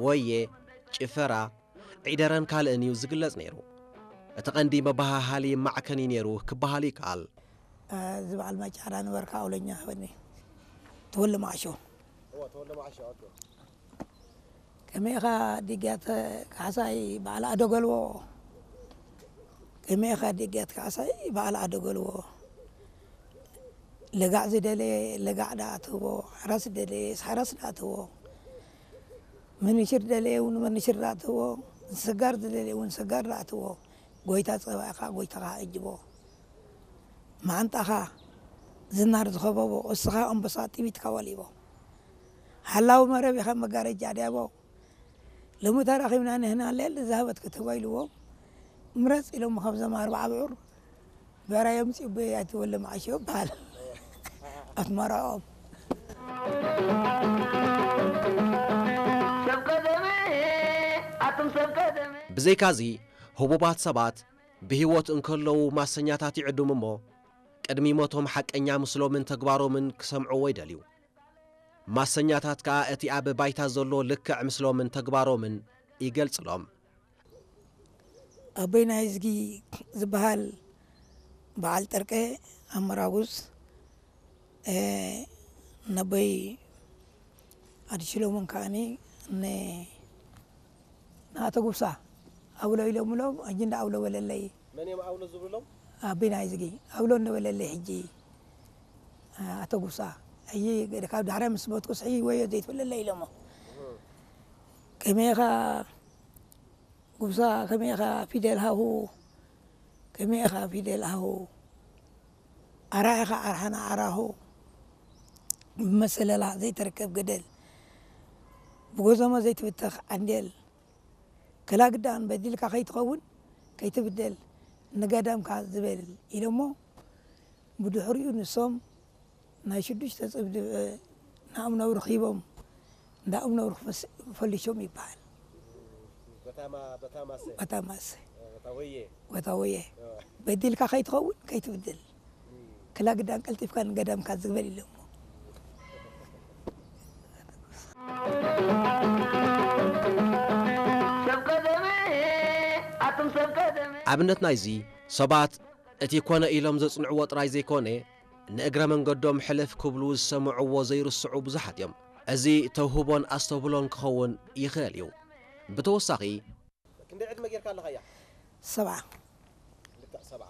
ወየ፣ ጭፈራ፣ ዒደረን ካልእን እዩ ዝግለጽ ነይሩ። እቲ ቀንዲ መበሃሃሊ ማዕከን እዩ ነይሩ ክበሃል ይከኣል። እዚ በዓል ማጫዳ ነበርካ ኣውለኛ በኒ ተወለ ማዕሾ። ከመይኻ ዲግያት ካሕሳይ በዓል ኣደገልዎ፣ ከመይኻ ዲግያት ካሕሳይ በዓል ኣደገልዎ። ለጋዕ ዝደለየ ለጋዕ ደኣ ትህቦ፣ ሓራስ ዝደለየ ሓራስ ደኣ ትህቦ፣ ምንሽር ዝደለየ እውን ምንሽር ደኣ ትህቦ፣ ሰጋር ዝደለየ እውን ሰጋር ደኣ ትህቦ። ጎይታ ጸባኢኻ ጎይታኻ ኣጅቦ። መዓንጣኻ ዝናር ዝኸበቦ፣ እስኻ ኣንበሳ ጥቢትካ ወሊቦ። ሓላዊ መረብ ኢኻ መጋረጃ ድያቦ። ሎሚ ተራኺብና ንህና ሌል ዝሃበት ክትህቦ ኢልዎም። ምረጽ ኢሎም ካብዞም ኣርባዓ ብዑር ብዕራይ ኣምጺኡ በይ ኣይትበሎም ዓሽ ይበሃል። ኣስመራኦም። ብዘይካዚ ህቡባት ሰባት ብህይወት እንከለዉ ማሰኛታት ይዕድሙ እሞ ቅድሚ ሞቶም ሓቀኛ ምስሎምን ተግባሮምን ክሰምዕዎ ይደልዩ። ማሰኛታት ከኣ እቲ ኣብ ባይታ ዘሎ ልክዕ ምስሎምን ተግባሮምን ይገልጽሎም። ኣቦይ ናይዝጊ ዝበሃል በዓል ጠርቀ ኣመራጉዝ፣ ነቦይ ኣዲሽሎምን ከኣኒ ንኣቶ ጉብሳ ኣውሎ ኢሎምሎም፣ ሕጂ እንዳ ኣውሎ በለለይ። መን እዮም ኣውሎ ዝብልሎም? ኣቦይ ናይዝጊ ኣውሎ እንበለለይ ሕጂ። ኣቶ ጉብሳ፣ ሕጂ ካብ ዳሕራይ ምስ ሞትኩስ ሕጂ ወዮ ዘይትብለለይ ኢሎሞ። ከመይኻ ጉብሳ፣ ከመይኻ ፊደል ሃሁ፣ ከመይኻ ፊደል ሃሁ፣ ኣርሓኻ ኣርሓና ኣራሁ፣ ብመሰለላ ዘይትርከብ ገደል፣ ብጎዞሞ ዘይትብተኽ ዓንዴል፣ ክላግዳን በዲልካ ከይትኸውን ከይትብደል፣ ንገዳምካ ዝበል ኢሎሞ። ብድሕሪኡ ንሶም ናይ ሽዱሽተ ጽብዲ ንኣምነው ረኺቦም፣ እንዳ ኣምነው ፈሊሾም ይበሃል። በታማሰ። በታወየ። በዲልካ ከይትኸውን ከይትብድል፣ ክላግዳን ቀልጢፍካ ንገዳምካ ዝግበል ኢሎሞ። ኣብነት ናይዚ፣ ሰባት እቲ ኮነ ኢሎም ዘጽንዕዎ ጥራይ ዘይኮነ፣ ንእግረ መንገዶም ሕልፍ ክብሉ ዝሰምዕዎ ዘይርስዑ ብዙሓት እዮም። እዚ ተውህቦን ኣስተብህሎን ክኸውን ይኽእል እዩ። ብተወሳኺ፣ ክንደይ ዕድመ ጌርካ ኣለኻያ? ሰብዓ። ልክዕ ሰብዓ።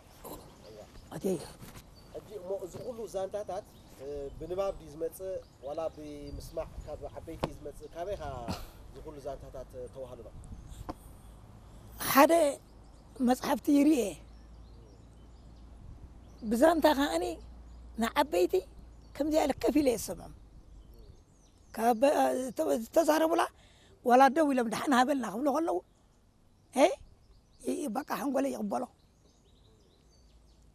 ኣትየ። ሕጂ እሞ እዚ ኩሉ ዛንታታት ብንባብ ድዩ ዝመጽእ ዋላ ብምስማዕ ካብ ዓበይቲ እዩ ዝመጽእ? ካበይኻ እዚ ኩሉ ዛንታታት ተዋህልሎ? ሓደ መጽሓፍቲ ይርኤ፣ ብዛንታ ከኣኒ ንዓበይቲ ከምዚኣ ኢለ ከፍ ኢለ እየ ዝሰምዖም። ካብ ዝተዛረቡላ ዋላ ደው ኢሎም ደሓን ሃበልና ክብሉ ከለዉ፣ እ፣ ይ-፣ በቃ ሓንጎለይ ይቕበሎ።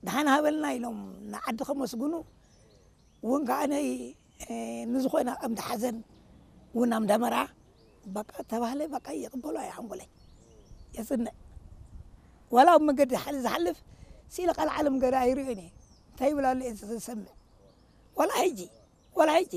ደሓን ሃበልና ኢሎም ንዓዲ ከመስግኑ እውን ከዓነይ፣ እ፣ ንዝኾነ ኣምዲ ሓዘን እውን ኣምዳ መርዓ በቃ ተባህለ፣ በቃ ይቕበሎ ኣየ ሓንጎለይ። የጽንዕ። ዋላ ኣብ መንገዲ ሓል-፣ ዝሓልፍ ስኢለ ቃል ዓለም ገዳ ኣይርእዮን እየ። እንታይ ይብል ኣሎ እየ ዝሰምዕ። ዋላ ሕጂ፣ ዋላ ሕጂ።